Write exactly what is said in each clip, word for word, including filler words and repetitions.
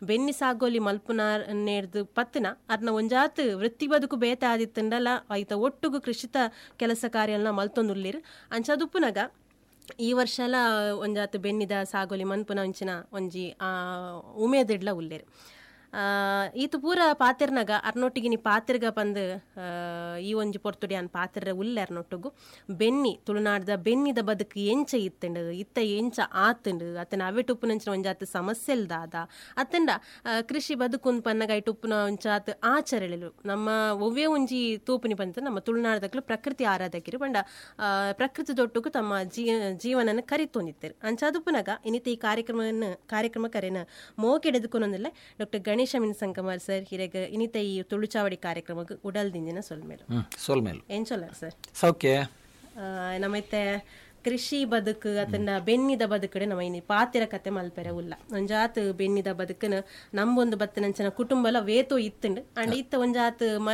ಬೆನ್ನಿ ಸಾಗೋಲಿ ಮಲ್ಪುನ ನೇರ್ದು ಪತ್ತನ ಅರ್ನ ಒಂಜಾತ್ ವೃತ್ತಿ ಬದುಕು ಬೇತ ಆದಿತ್ತಂಡಲ ಐತ ಒಟ್ಟುಗು ಕೃಷಿತ ಕೆಲಸ ಕಾರ್ಯಲ್ನ ಮಲ್ತೊಂದುಲ್ಲೇರು. ಅಂಚದುಪ್ಪುನಗ ಈ ವರ್ಷಲ ಒಂಜಾತ್ ಬೆನ್ನಿದ ಸಾಗೋಲಿ ಮನ್ಪುನ ಒಂಚಿನ ಒಂಜಿ ಉಮೇದಿಡ್ಲ ಉಲ್ಲೇರು. ಈತು ಪೂರ ಪಾತೆರ್ನಾಗ ಅರ್ನೊಟ್ಟಿಗಿನಿ ಪಾತೆರ್ಗ ಪಂದು ಈ ಒಂಜಿ ಪೊರ್ತುಡಿ ಅನ್ ಪಾತೆರ ಉಲ್ಲೆ ಅರ್ನೊಟ್ಟುಗು ಬೆನ್ನಿ ತುಳುನಾಡ್ದ ಬೆನ್ನಿದ ಬದುಕು ಎಂಚ ಇತ್ತಂಡು, ಇತ್ತ ಎಂಚ ಆತಂಡು, ಅತನ ಅವೆಟುಪ್ಪುನಂಚಿನ ಒಂಜಾತ್ ಸಮಸ್ಯೆಲ್ ದಾದ, ಅತ್ತಂಡ ಕೃಷಿ ಬದುಕು ಪನ್ನಗ ಇಟುಪ್ಪುನ ಒಂಚಾತ್ ಆಚರಣೆಲು ನಮ್ಮ ಒವ್ವೇ ಒಂಜಿ ತೂಪುನಿ ಪಂತ ನಮ್ಮ ತುಳುನಾಡ್ದಕ್ಲು ಪ್ರಕೃತಿ ಆರಾಧಕಿರು ಪಂಡ ಪ್ರಕೃತಿ ದೊಟ್ಟುಗು ತಮ್ಮ ಜೀ ಜೀವನನ ಕರಿತೊಂದಿತ್ತರು. ಅಂಚಾದುಪ್ಪುನಗ ಇನ್ನಿತ ಈ ಕಾರ್ಯಕ್ರಮವನ್ನು ಕಾರ್ಯಕ್ರಮ ಕರೆನ ಮೋಕೆಡೆದುಕೊನೊಂದಿಲ್ಲ ಡಾಕ್ಟರ್ ಗಣೇಶ್ ಶಮಿನ್ ಸಂಕಮಾರ್ ಸರ್ ಹಿರೇಗ ಇನ್ನಿತ ಈ ತುಳುಚಾವಡಿ ಕಾರ್ಯಕ್ರಮಕ್ಕೆ ಉಡಲ್ ದಿಂಜಿನ ಸೊಲ್ಮೇಲು ಸೊಲ್ಮೇಲು ಏನ್ ಸೊಲ್ಲಾರ ಸರ್? ಸೌಖ್ಯ. ನಮ್ಮೈತೆ ಕೃಷಿ ಬದುಕು ಅದನ್ನ ಬೆನ್ನಿದ ಬದುಕಡೆ ನಮ್ಮ ಇನಿ ಪಾತಿರ ಕತೆ ಮಲ್ಪೆರೆ ಉಲ್ಲ. ಒಂಜಾತ್ ಬೆನ್ನಿದ ಬದುಕನ ನಮ್ಮೊಂದು ಬತ್ತನಂಚಿನ ಕುಟುಂಬಲ ವೇತೋ ಇತ್ತಂಡು ಅಂಡ್ ಇತ್ತ ಒಂಜಾತ್ ಮ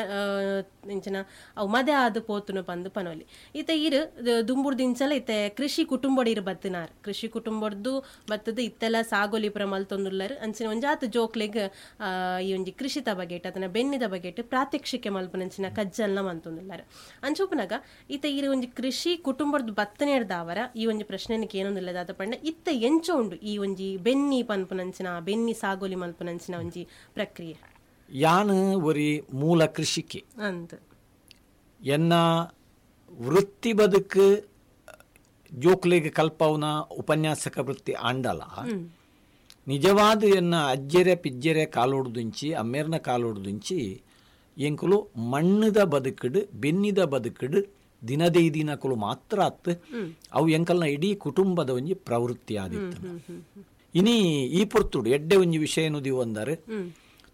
ಇಂಚಿನ ಅವು ಮದೆ ಆದ್ ಪೋತುನು ಪಂದು ಪನೋಲಿ. ಇತ್ತ ಇರು ದುಂಬುರ್ದಿಂಚಲ ಇತ್ತೆ ಕೃಷಿ ಕುಟುಂಬಡ್ ಇರು ಬತ್ತಿನಾರ್ ಕೃಷಿ ಕುಟುಂಬಡ್ದು ಬತ್ತದ ಇತ್ತೆಲ್ಲ ಸಾಗೋಲಿ ಪುರ ಮಲ್ತೊಂದುಲ್ಲರು. ಅಂಚಿನ ಒಂಜಾತ್ ಜೋಕ್ಲೆಗ್ ಈ ಒಂಜಿ ಕೃಷಿತ ಬಗೆಟ್ ಅದನ್ನ ಬೆನ್ನಿದ ಬಗೆಟ್ ಪ್ರಾತ್ಯಕ್ಷಿಕೆ ಮಲ್ಪನಂಚಿನ ಕಜ್ಜಲ್ನ ಮಲ್ತೊಂದುಲ್ಲಾರು. ಅಂಚುಪುನಗ ಇತ್ತ ಇರು ಒಂಜಿ ಕೃಷಿ ಕುಟುಂಬಡ್ದು ಬತ್ತನೇರ್ದಾವ ಈ ಒಂಜಿ ಪ್ರಶ್ನೆಗೆ ಏನೊಂದಿಲ್ಲದಾದ ಪಂಡ ಇತ್ತ ಎಂಚ ಉಂಡು ಈ ಒಂಜಿ ಬೆನ್ನಿ ಪನ್ಪುನಂಚಿನ ಬೆನ್ನಿ ಸಾಗೋಲಿ ಮಲ್ಪುನಂಚಿನ ಒಂಜಿ ಪ್ರಕ್ರಿಯೆ? ಯಾನು ಒರಿ ಮೂಲ ಕೃಷಿಕೆ ಅಂದ್ ಎನ್ನ ವೃತ್ತಿ ಬದುಕು ಜೋಕ್ಲೆಗ್ ಕಲ್ಪವನ ಉಪನ್ಯಾಸಕ ವೃತ್ತಿ ಆಂಡಲ. ನಿಜವಾದ ಎನ್ನ ಅಜ್ಜೆರೆ ಪಿಜ್ಜೆರೆ ಕಾಲೋಡ್ದುಂಚಿ ಅಮ್ಮೇರ್ನ ಕಾಲೋಡ್ದುಂಚಿ ಎಂಕುಲು ಮಣ್ಣದ ಬದುಕಡು ಬೆನ್ನಿದ ಬದುಕಡು ದಿನದೇ ದಿನಕುಲು ಮಾತ್ರ ಅತ್ತು ಅವು ಎಂಕಲ್ನ ಇಡೀ ಕುಟುಂಬದ ಒಂಜಿ ಪ್ರವೃತ್ತಿ ಆದಿತ್ತು. ಇನಿ ಈ ಪೊರ್ತುಡು ಎಡ್ಡೆ ಒಂಜಿ ವಿಷಯ ದಿವಂದರೆ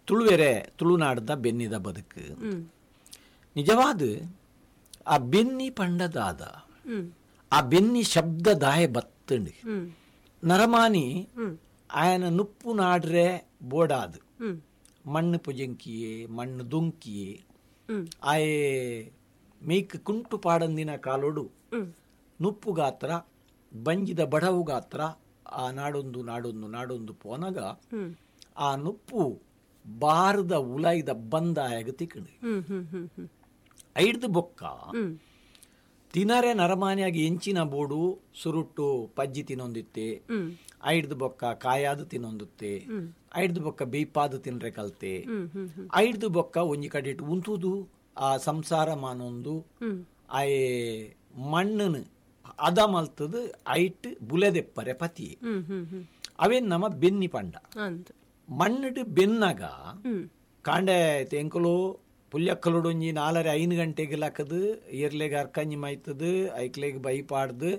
ತುಳುವೆರೆ ತುಳುನಾಡದ ಬೆನ್ನಿದ ಬದುಕು. ನಿಜವಾದ ಆ ಬೆನ್ನಿ ಪಂಡದಾದ ಆ ಬೆನ್ನಿ ಶಬ್ದ ದಾಯ ಬತ್ತಂಡು ನರಮಾನಿ ಆಯನ ನುಪ್ಪು ನಾಡ್ರೆ ಬೋಡಾದು ಮಣ್ಣು ಪುಜಂಕಿಯೇ ಮಣ್ಣು ದೊಂಕಿಯೇ ಆಯೆ ಮೇಕ್ ಕುಂಟು ಪಾಡಂದಿನ ಕಾಲೋಡು ನುಪ್ಪು ಗಾತ್ರ ಬಂಜಿದ ಬಡವು ಗಾತ್ರ ಆ ನಾಡೊಂದು ನಾಡೊಂದು ನಾಡೊಂದು ಪೋನಗ ಆ ನುಪ್ಪು ಬಾರದ ಉಲಾಯ್ದ ಬಂದ ಆಯಾಗ ತಿಕ್ಕಂಡು ಐಡ್ದು ಬೊಕ್ಕ ತಿನರೆ ನರಮಾನಿಯಾಗಿ ಎಂಚಿನ ಬೋಡು ಸುರುಟ್ಟು ಪಜ್ಜಿ ತಿನ್ನೊಂದಿತ್ತೆ, ಐಡ್ದು ಬೊಕ್ಕ ಕಾಯಾದು ತಿನ್ನೊಂದುತ್ತೆ, ಐಡ್ದು ಬೊಕ್ಕ ಬೇಯ್ಪಾದು ತಿನ್ರೆ ಕಲ್ತೆ, ಐಡ್ದು ಬೊಕ್ಕ ಒಂಜಿ ಕಡೆ ಉಂತುದು ಆ ಸಂಸಾರ ಮಾನೊಂದು ಆಯೆ ಮಣ್ಣನು ಅದ ಮಲ್ತದು ಐಟ್ ಬುಲೆದೆಪ್ಪರೆ ಪತಿ ಅವೇನ್ ನಮ್ಮ ಬೆನ್ನಿ ಪಂಡ. ಮಣ್ಣು ಬೆನ್ನಾಗ ಕಾಂಡೆ ಎಂಕಲು ಪುಲ್ಯಕ್ಕಲುಡೊಂಜಿ ನಾಲರೆ ಐದು ಗಂಟೆಗೆ ಲಕ್ಕದು ಎರ್ಲೆಗೆ ಅರ್ಕಂಜಿ ಮೈತದು ಐಕ್ಲೆಗ್ ಬೈ ಪಾಡ್ದು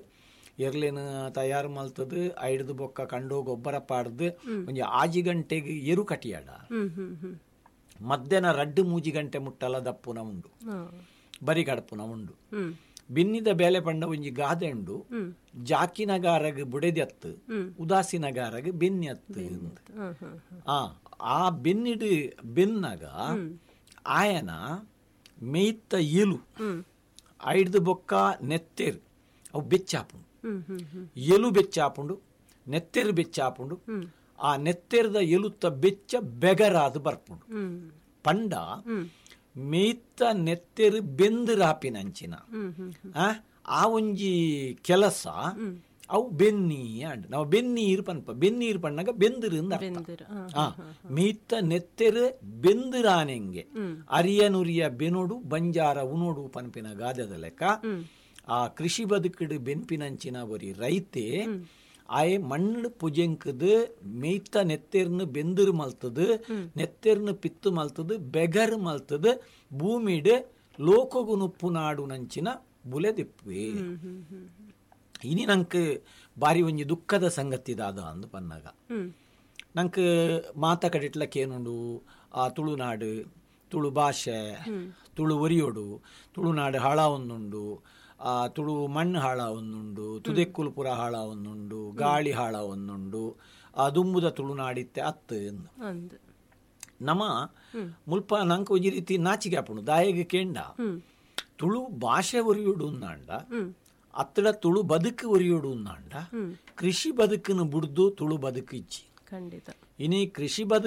ಎರ್ಲೇನು ತಯಾರು ಮಲ್ತದು ಐಡ್ದು ಬೊಕ್ಕ ಕಂಡೋ ಗೊಬ್ಬರ ಪಾಡ್ದು ಒಂಜಿ ಆಜಿ ಗಂಟೆಗೆ ಎರು ಕಟಿಯಾಡ ಮಧ್ಯಾಹ್ನ ರಡ್ಡು ಮೂಜಿ ಗಂಟೆ ಮುಟ್ಟಲ ದಪ್ಪುನ ಉಂಡು ಬರಿ ಕಡಪುನ ಉಂಡು. ಬಿನ್ನಿದ ಬೇಲೆ ಪಂಡ ಒಂಜಿ ಗಾದೆ ಉಂಡು, ಜಾಕಿನಗಾರಗ್ ಬುಡೆದತ್ತು ಉದಾಸಿನಗಾರಗ್ ಬೆನ್ನಿ ಅತ್ತು. ಆ ಆ ಬೆನ್ನಿಡು ಬೆನ್ನಾಗ ಆಯನ ಮೇಯ್ತ ಎಲು ಐಡ್ದು ಬೊಕ್ಕ ನೆತ್ತೆರು ಅವು ಬೆಚ್ಚಾಪುಂಡು, ಎಲು ಬೆಚ್ಚಾಪುಂಡು ನೆತ್ತೆರು ಬೆಚ್ಚಾಪುಂಡು. ಆ ನೆತ್ತೆರ್ದ ಎಲುತ್ತ ಬೆಚ್ಚ ಬೆಗರಾದು ಬರ್ಪುಂಡು. ಪಂಡ ಮೇಯ್ತ ನೆತ್ತೆರು ಬೆಂದಿರಾಪಿನಂಚಿನ ಆ ಒಂಜಿ ಕೆಲಸ ಅವು ಬೆನ್ನಿ ಅಂಡ್ ನಾವು ಬೆನ್ನೀರು ಪನ್ಪ ಬೆನ್ನೀರು ಪಣ್ಣಾಗ ಬೆಂದಿರು ಅಂತ ಅರ್ಥ. ಆ ಮೇಯ್ತ ನೆತ್ತೆರು ಬೆಂದಿರಾನೆಂಗೆ ಅರಿಯ ನುರಿಯ ಬೆನೋಡು ಬಂಜಾರ ಉನೋಡು ಪನ್ಪಿನ ಗಾದೆದ ಲೆಕ್ಕ ಆ ಕೃಷಿ ಬದುಕಿಡು ಬೆನ್ಪಿನಂಚಿನ ಒರಿ ರೈತೆ ಆಯೆ ಮಣ್ಣು ಪುಜೆಂಕದು ಮೇಯ್ತ ನೆತ್ತೆರ್ನು ಬೆಂದಿರು ಮಲ್ತದು ನೆತ್ತೆರ್ನು ಪಿತ್ತು ಮಲ್ತದು ಬೆಗರು ಮಲ್ತದು ಭೂಮಿಡು ಲೋಕಗು ನುಪ್ಪು ನಾಡು ನಂಚಿನ ಬುಲೆದಿಪ್ಪೆ. ಇನಿ ನಂಗೆ ಬಾರಿ ಒಂಜಿ ದುಃಖದ ಸಂಗತಿ ದಾದ ಅಂದು ಪನ್ನಾಗ ನಂಗೆ ಮಾತ ಕಡಿಟ್ಲಕ್ಕೆ ಏನುಂಡು ಆ ತುಳುನಾಡು ತುಳು ಭಾಷೆ ತುಳು ಒರಿಯೋಡು ತುಳುನಾಡು ಹಾಳ ಒಂದುಂಡು, ಆ ತುಳು ಮಣ್ಣು ಹಾಳ ಒಂದುಂಡು, ತುದೆಕ್ಕುಲ್ಪುರ ಹಾಳ ಒಂದುಂಡು, ಗಾಳಿ ಹಾಳ ಒಂದುಂಡು, ಆ ದುಂಬುದ ತುಳುನಾಡಿತ್ತೆ ಅತ್ತು ಎಂದು ನಮ್ಮ ಮುಲ್ಪ ನಂಗೆ ಒಂಜಿ ರೀತಿ ನಾಚಿಕೆ ಆಪುಂಡು. ದಾಯೆಗೆ ಕೇಂಡ ತುಳು ಭಾಷೆ ಒರಿಯೋಡು ಅಂದಾಂಡ ಅತ್ತಡ ತುಳು ಬದುಕು ಒರಿಯೋಡು ಅಂದಾಂಡ ಕೃಷಿ ಬದುಕನ್ನು ಬುಡ್ದು ತುಳು ಬದುಕು ಇಚ್ಚಿ. ಖಂಡಿತ ಇನಿ ಕೃಷಿ ಬದುಕು